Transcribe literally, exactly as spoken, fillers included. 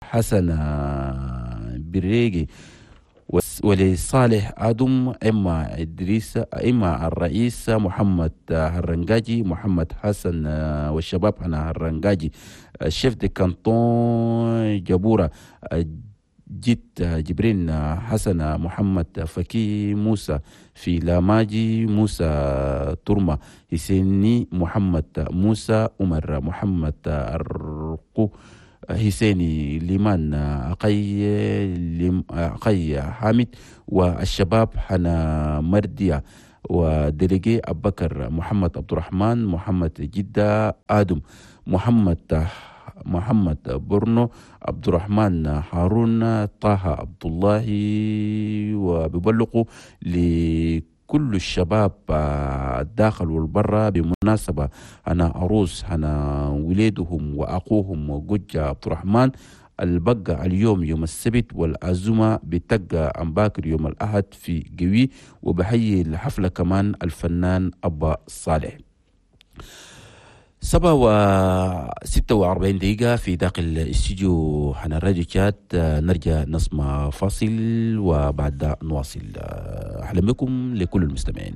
حسن بريجي ولصالح آدم، إما إدريس، إما الرئيس محمد هرنجاجي، محمد حسن والشباب هنا هرنجاجي، chef de canton جبورة، جيت جبرين حسن محمد فكي موسى في لاماجي، موسى ترمى، حسيني محمد موسى، عمر محمد أرقو، حسيني ليمان أقي أقي حامد، والشباب حنا مردية، و délégué أبو بكر محمد عبد الرحمن محمد جدة آدم، محمد محمد برنو، عبد الرحمن هارون، طه عبد الله. وببلغوا لكل الشباب الداخل والبرة بمناسبة أنا عروس أنا وليدهم وأخوهم وجوجة عبد الرحمن البقى اليوم يوم السبت، والعزومة بتقى عن باكر يوم الأحد في قوي. وبحيي الحفلة كمان الفنان أبا صالح. سبعة وستة وأربعين دقيقة في داخل الاستوديو حنا الراديو تشاد. نرجع نسمع فاصل وبعد نواصل. أهلا بكم لكل المستمعين.